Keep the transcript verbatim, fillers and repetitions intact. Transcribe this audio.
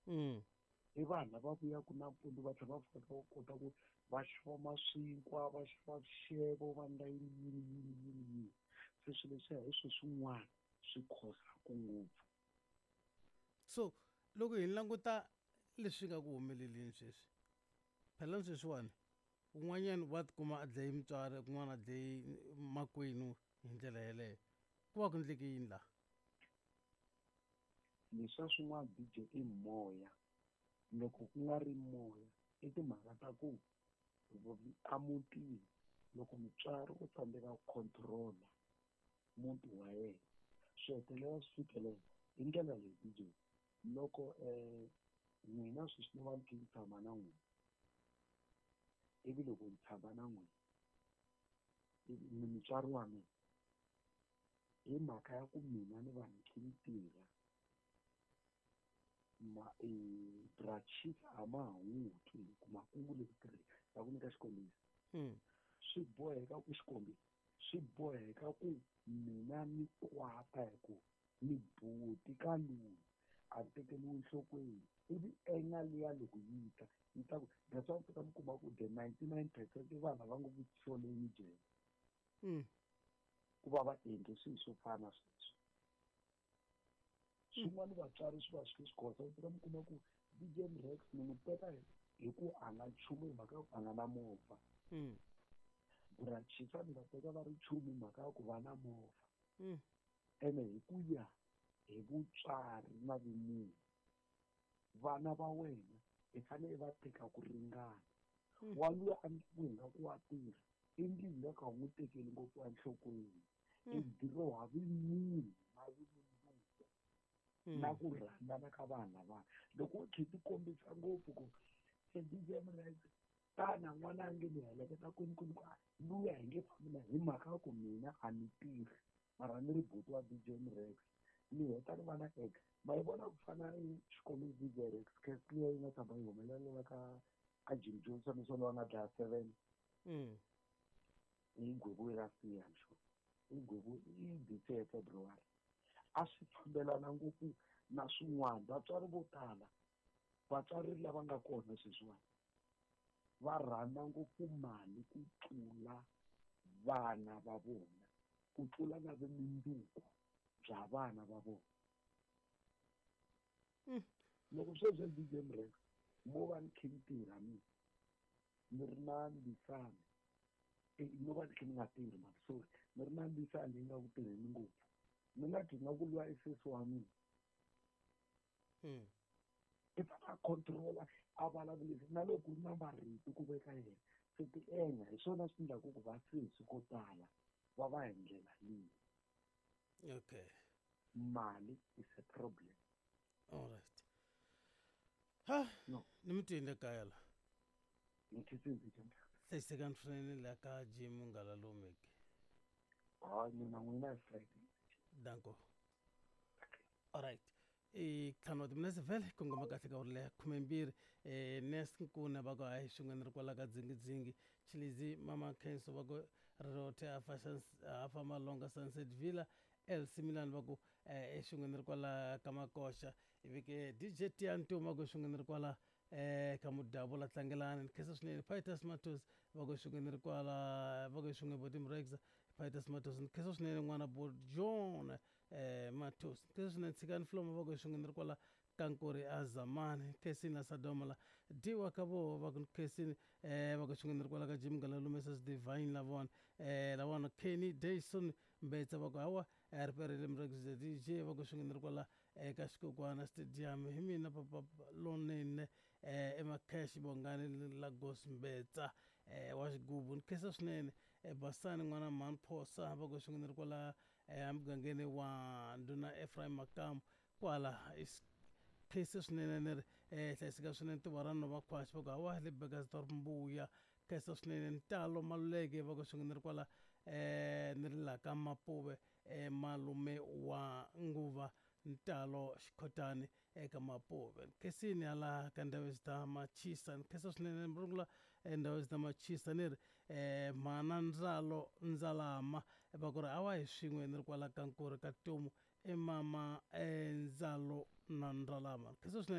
Mm. I vanhu lava vuyaka nampundzu va tlhela va pfuka va kota ku va xava maswinkwa, va xava xixevo, va endla yini yini yini yini yini. Se swilo leswiya hi swilo swin'wana swi khosaka ngopfu. So loko hi languta leswi nga ku humeleleni sweswi, phela sweswiwani un'wanyana wa tikuma a dlaye mutswari, kun'wana a dlaye makwenu hi ndlela yeleyo. Ku va ku endleke yini laha? Leswiya swin'wana D J i moya. Loko ku nga ri moya i timhaka ta ku emutini loko mutswari u tsandzeka ku control-a muti wa yena swi hetelela swi fikelela hi ndlela leyi D J. Loko n'wina sweswi ni va ni kha ni tshama na n'wina, ivi loko ni tshama na n'wina ni mutswari wa mina, hi mhaka ya ku mina ni va ni kha ni tirha, ma bra Chief a ma ha n'wi twi hi ku makungu le ku tirheni. Ta ku nyika xikombiso. Mm. Swi boheka ku xikombiso, swi boheka ku mina ni kwata hi ku ni buti ka loyi a tekeriwi enhlokweni, ivi enga liya loko yi ta yi ta ku that's why mi kuma ku the ninety-nine percent i vanhu lava ngo ku soleni jele. Mm. Ku va va endle swilo swo fana na sweswo. Swin'wana vatswari swi va swi swi khosa, u fika mi kuma ku D J Rex ni n'wi teka hi ku a nga nchumu hi mhaka ya ku a nga na movha. Mm. Bra Chief ni va teka va ri nchumu hi mhaka ya ku va na movha. Mm. Ene hi ku ya hi vutswari na vumunhu, vana va wena i fanele i va teka ku ringana. Mm. Wa luya a ku hi nga ku wa tirha, i ndlela ya ka u n'wi tekeli ngopfu enhlokweni. Mm. I diroha vumunhu na vumundzuku. Mm. Na ku rhandzana ka vanhu lava. Loko u tlhe ti kombisa ngopfu ku se D J Rex tana n'wana a nge ni heleketa kwini kwini ku a luya hi nge fambi na hi mhaka ya ku mina a ni tirhi, mara ni ri buti wa D J Rex ni heta ni va na ex. Ma yi vona ku fana ni xikombiso D J Rex case liya yi nga tshama yi humelela ka ka Jim Johnson leswi va nga dlaya seven. Mm. Yi gweviwe last year, I'm sure. Yi gweviwe i this year February. A swi fambelana ngopfu na swin'wana. Vatswari vo tala, vatswari lava nga kona sweswiwani va rhandza ngopfu mali ku tlula vana va vona, ku tlula na vumundzuku bya vana va vona. Mm. Loko sweswi D J Rex mo va ni kha ni tirha mina, ni ri na ndisana, eh, no va ni kha ni nga tirhi mani, sorry, ni ri na ndisana leyi nga ku tirheni ngopfu, ni nga dyi nga ku lwa i sesi wa mina. Mm. I fanele a control-a, a vulavulisa na loko ku ri na marito ku veka yena, se ti enga hi swona swi endlaku ku va sesi ko tala va va hi ndlela leyi. Okay. Mali is a problem. All right. Ha, No. ni mi twile kaya la. Ni twisisi njhani? Hlayisekani swinene la ka Jim Ngalalomeke. Hayi, mina n'wina hi Friday. Danko. All right. I ntlhanu wa timinetse vhele kongoma kahle ka uri khumembirhi. Eh, Nest Nkuna va ku hayi swin'we ni ri kwala ka dzingidzingi. Chilizi Mama Khenso va ku Rirothe a fa a fa Malonga Sunset Villa. L C Milan va ku, eh, swin'we ni ri kwala ka Makoxa. Ivi ke D J Tiantu va ku swin'we ni ri kwala, eh, ka Mudavula Tlangelani. Ni khensa swinene. Pitus Matos va ku swin'we ni ri kwala, va ku swin'we Bodim Rex. Pitus Matos ni khensa swinene n'wana bo John, eh, Matos. Ni khensa swinene Tshikani Flomo va ku swin'we ni ri kwala ka Nkuri a Zamani. Khensini la Sadoma la Diwa ka voho va ku khensini, eh, va ku swin'we ni ri kwala ka Jim Ngalalume Mrs Divine la vona, eh, la vona Kenny Dayson Mbetsa va ku hawa, eh, ri perile Mrex D J va ku swin'we ni ri kwala eka Xikokwana Stadium. Hi mina papa lonene, eh, eMakhesh Bongani Lagos Mbetsa, eh, wa xigubu. Ni khensa swinene, eh, Basani n'wana Mhani Phosa va ku swin'we ni ri kwala, eh, emugangeni wa Ndhuna Ephraim Makamu kwala. Khensa swinene ni ri, eh, hlayiseka swinene tuva ra nhova khwaxi va ku hawa le Burgersdorp Mbuya. Khensa swinene Ntalo Maluleke va ku swin'we ni ri kwala, eh, ni ri la ka Mapuve, eh, malume wa Nguva Ntalo Xikhotani eka Mapuve. Khensini hala ka Ndhavezitha Machisa. Ni khensa swinene Mrungula, eh, Ndhavezitha Machisa ni ri, eh, mhana Ndzalo Ndzalama va ku ri hawa hi swin'we ni ri kwala ka Nkuri ka Tomu, i mama, eh, Ndzalo na Ndzalama. Khensa swinene.